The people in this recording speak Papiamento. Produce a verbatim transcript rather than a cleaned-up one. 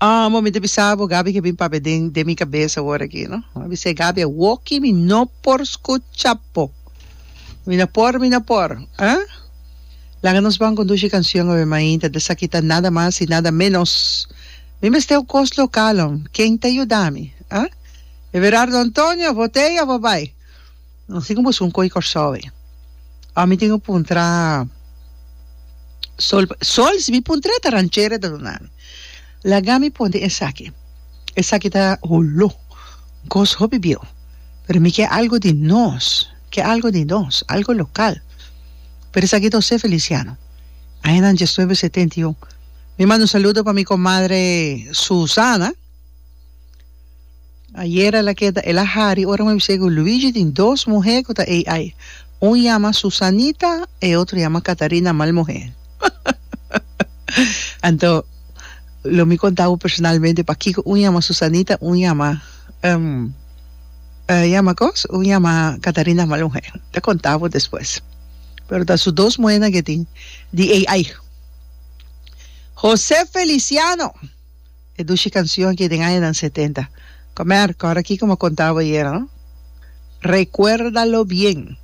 Ah, mi ta bisa bo, Gabi ke bin papia den, den mi kabes awor aki, no? Mi bisa, Gabi, awoki mi no por skucha bo. Mi no por, mi no por. Eh? Laga nos ban ku dushi kanshon awe mainta, esaki ta nada mas i nada menos. Mi mester kos lokal, hom. Ken ta yuda mi? Eh? Everardo Antonio, botella, bye bye. No sé komo un koi Kòrsou. Ami tin ku puntra Sol, Sol, si mi puntra ta ranchera ta duna mi. Laga mi pone esaki. Esaki ta holo. Kos hopi bieu. Pero mi ke algo di nos. Ke algo di nos. Algo lokal. Pero esaki ta José Feliciano. Aña diesnuebe setenta i un. Mi manda un saludo pa mi komadre Susana. Ayera el a keda, el a hari, ora mi bisa Luigi tin dos muhé ku ta A I. Un yama Susanita i otro yama Catarina Malmuhé. Anto, lo mi konta bo personalmente pakiko un yama Susanita, un yama um, uh, yama kos, un yama Catarina Malmuhé. Ta konta bo despues. Pero ta su dos muhénan ku tin di A I. José Feliciano. E dushi kanshon ku den aña setenta. Komer, awor aki komo kontaba ayera, no? Recuérdalo bien.